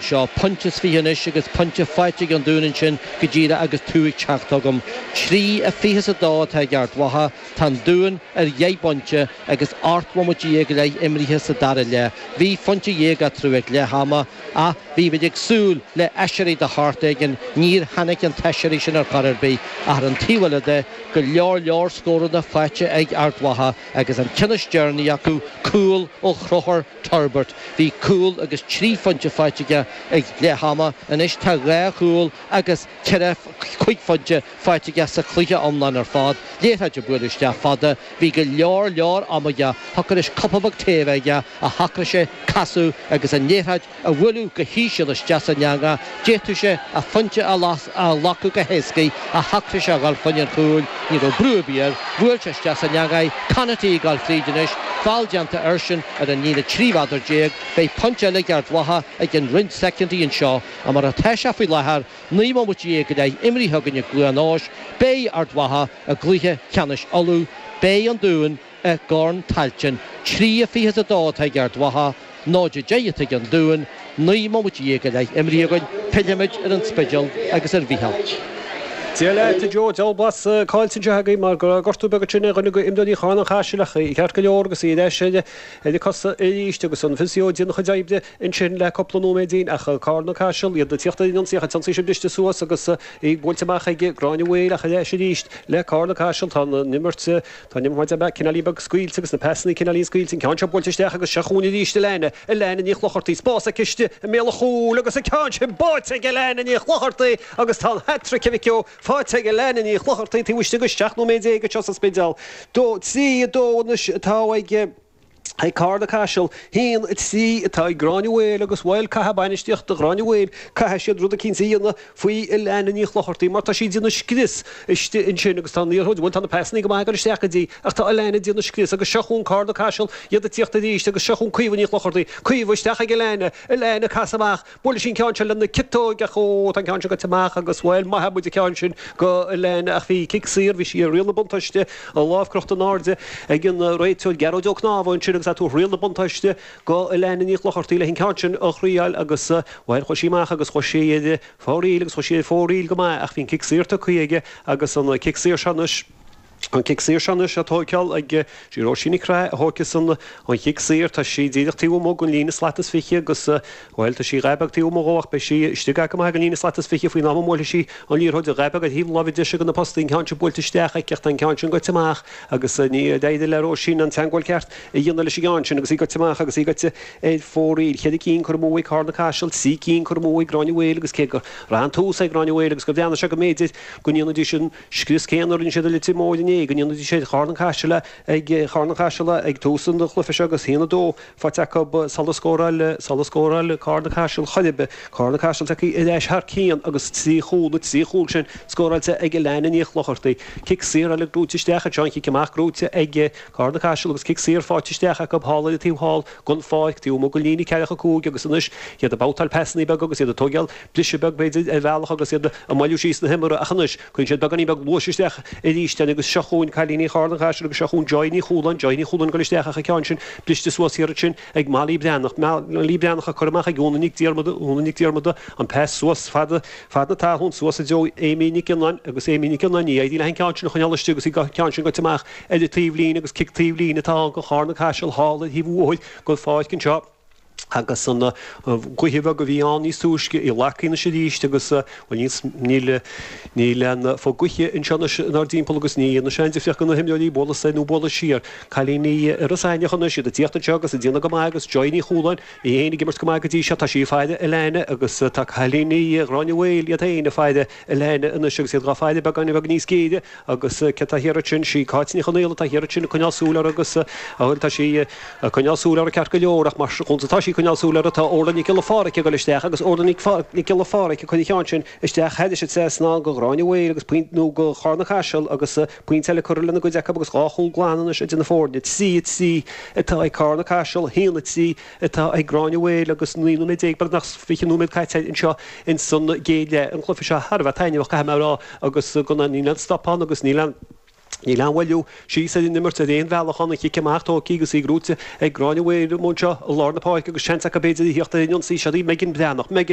Seo pointe is 20 anois agus pointe faighte ag an Dún ansin go díreach agus tú ag teacht chugam. 3, 22 atá ag Ard Mhacha. Tá an Dún ar dheich bpointe agus 18 bhomaite go leith imrithe sa dara leath. Bhí phointe dhéag eatarthu ag leath ama ach bhí muid ag súil le aiséirí de shórt éigin. Níor tháinig an t-aiséirí sin ar chor ar bith ach ar an taobh eile de, go leor leor scóranna faighte ag Ard Mhacha agus an ceann is deireanaí acu, cúl ó Chonchúr Turbert. Bhí cúl agus 3 phointe faighte aige ag leath ama. Anois tá 2 chúl agus 4, 5 phointe faighte aige sa chluiche iomlán ar fad. Liathróid á bualadh isteach fada. Bhí go leor leor ama aige. Thiocfadh leis cupa beag tae a bheith aige ach shocraigh sé casadh agus an liathróid a bhualadh go híseal isteach san eangach. D'fhéadfadh sé a phointe a ghlacadh go héascaidh ach shocraigh sé a dhul fá choinne an chúil. Ní raibh brú ar bith air. Bhuail sé isteach san eangach é. Conaty ag dul fríd anois. Feall déanta airsean ar an líne 13 mheadar. Beidh pointe eile ag Ard Mhacha i gcionn roinnt soicindí anseo. Ach mar atá sé faoi láthair, 19 mbomaite go leith imrithe againn i gCluain Eois, beidh Ard Mhacha i gcluiche ceannais Uladh. Beidh an Dún i gCorn Tailteann. 3-22 atá ag Ard Mhacha, 0-10 atá ag an Dún, 19 mbomaite go leith imrithe againn. Pillfimid ar an Spidéal agus ar Mhícheál. Dia leat, a Joe. Diabhal blas caillte anseo agaibh mar go raibh gortú beag ansin ar dhuine de imreoirí Charn an Chaisil ach í ceart go leor agus í ar ais ar a cosa arís agus an physio ag déanamh a chuid oibre ansin le cúpla nóiméidín ach Carn an Chaisil iad ag tíocht ar an ionsaí ach an t-ionsaí sin briste suas agus í buailte amach ag Gráinne Mhaol ach ar ais arís le Carn an Chaisil tá an imirt Tá an imirt cineáilín beag scaoilte agus na pasannaí cineáilín scaoilte, an ceann seo buailte isteach agus seo chugainn arís Alana, Alana Ní Chlochartaigh, spás aici istigh i mbéal an chúil agus an ceann sin báite ag Alana Ní Chlochartaigh agus tá an hat-trick a mhic ó faighte ag Alana Ní Chlochartaigh taobh istigh de 17 nóiméad anseo sa Spidéal. 2, 3, 2 anois atá ag. Ag Carna Caiseal, 1, 3 atá ag Gráinne Mhaol agus bhuel, caithfidh bainistíocht Ghráinne Mhaol, caithfidh siad rud eicínt a dhéanamh faoi Alana Ní Chlochartaigh mar tá sí ag déanamh scrios istigh ansin agus tá an liathróid, bhuel tá na pasannaí go maith ag dul isteach go dtí ach tá Alana ag déanamh scrios agus seo chugainn Carna Caiseal, iad ag tíocht arís agus seo chugainn Caoimhe Ní Chlochartaigh, Caoimhe isteach ag Alana, Alana casadh amach. Buaileann sí an ceann seo lena ciotóig ach ó, tá an ceann seo goite amach agus, bhuel, maith muid an ceann sin go Alana ach bhí cic saor, bhí sí ar riail na buntáiste, a lámh crochta in airde ag an réiteoir Gearóid Ó Cnámha ansin agus é ag tabhairt riail na buntáiste go Alana Ní Chlochartaigh leis an ceann sin a thriáil agus, bhuel, chuaigh sí amach agus chuaigh sí ar fóraoil agus chuaigh sí ar fóraoil go maith ach bhí an cic saor tugtha aige agus an cic saor seo anois. An cic saor seo anois á tóigeáil ag sí Róisín Nic Craith a thóigfeas an chic saor. Tá sí díreach taobh amuigh den líne slat is 20 agus, bhuel, tá sí dhá beag taobh amuigh dhó ach beidh sí istigh go maith ag an líne slat is 20 faoin am a mbuailfidh sí an liathróid. Dhá beag ar thaobh na láimhe deise de na postaí, an ceann sin buailte isteach aici ach tá an ceann sin goite amach agus níor éirigh le Róisín an teagmháil ceart a dhéanamh leis an gceann sin agus í goite amach agus í goite ar fóraoil. Cheithre cinn curtha amú ag Carna Caiseal, trí cinn curtha amú ag Gráinne Mhaol agus cé gur raibh an tús ag Gráinne Mhaol agus gur bhreathnaigh sé go mb'fhéidir go ndéanfaidís an scrios céanna a rinne siad i Leitir Móir inné, go ndéanfaidís ar Charn an Chaisil ag Charn an Chaisil ag tús an chluiche seo agus 1-2 faighte acu sula scóráil sula scóráil Carna Caiseal chor ar bith. Carna Caiseal tagtha ar ais thar cionn agus trí chúl, na trí chúl sin scóráilte ag Alana Ní Chlochartaigh. Cic saor eile gnóite isteach anseo, an chic amach gnóite ag Carna Caiseal agus cic saor faighte isteach acu thall ar an taobh thall den pháirc, taobh amuigh den líne ceathracha cúig agus anois iad ag babhtáil pasannaí beaga agus iad ag tóigeáil briseadh beag, b'fhéidir, ar bhealach agus iad ag moilliú síos na himeartha ach anois, cuireann siad beagáinín beag luais isteach arís agus seo chugainn cailíní Charn an Chaisil agus seo chugainn Joy Ní Chualáin, Joy Ní Chualáin ag dul isteach ach an ceann sin briste suas thiar ansin ag Molly Breathnach, Molly Breathnach ag cur amach ag Úna Nic Diarmada, Úna Nic Diarmada, an pas suas fad, fad na talún suas i dtreo Amy Nic Fhionnáin agus Amy Nic Fhionnáin, ní éiríonn léi an ceann sin a choinneáil istigh agus an ceann sin goite amach ar an taobhlíne agus cic taobhlíne atá ann do Charn an Chaisil thall ar thaobh an bhóthair den pháirc anseo. agus an ghaoth bheag a bhí ann níos túisce, í lagaithe anois arís agus, bhuel, níl, níl aon fo gaoithe anseo anois inár dtimpeall agus ní dhéanfaidh sé aon difríocht do na himreoirí bualadh soir nó bualadh siar. Cailíní Iorras Aithneach anois, iad ag tíocht anseo agus ag déanamh go maith agus Joy Ní Chualáin, í féin ag imirt go maith go dtí seo, tá sí ag faire Alana agus tá cailíní Ghráinne Mhaol iad féin ag faire Alana anois agus iad dhá faire beagáinín beag níos géire Agus cé atá thiar ansin? Sí Cáit Ní Chonaola atá thiar ansin ag coinneáil súil uirthi agus, bhuel, tá sí ag coinneáil súil uirthi ceart go leor ach mar conas atá sí ag coinneáil súil uirthi tá Orla Nic Giolla Pháraic ag dul isteach agus Orla Nic Giolla Pháraic ag cur an cheann sin isteach thairis an trasnán go Gráinne Mhaol agus pointe, nó go Charna Caiseal agus pointe eile curtha lena gcuid acu agus dhá chúl glan anois idir na foirne. 3, 3 atá ag Carna Caiseal, 1, 3 atá ag Gráinne Mhaol agus 19 nóiméad, beagnach 20 nóiméad caite anseo ins an gcéad leath. An cluiche seo thar a bheith taitneamhach, caithfidh mé a rá, agus go níl aon stop ann agus níl aon. Níl aon mhoilliú síos ar an imirt ar aon bhealach ann, an chic amach tógtha agus í gnóite ag Gráinne Mhaol anseo i lár na páirce agus seans acu b'fhéidir a theacht ar an ionsaí. Seo í Megan Breathnach. Megan.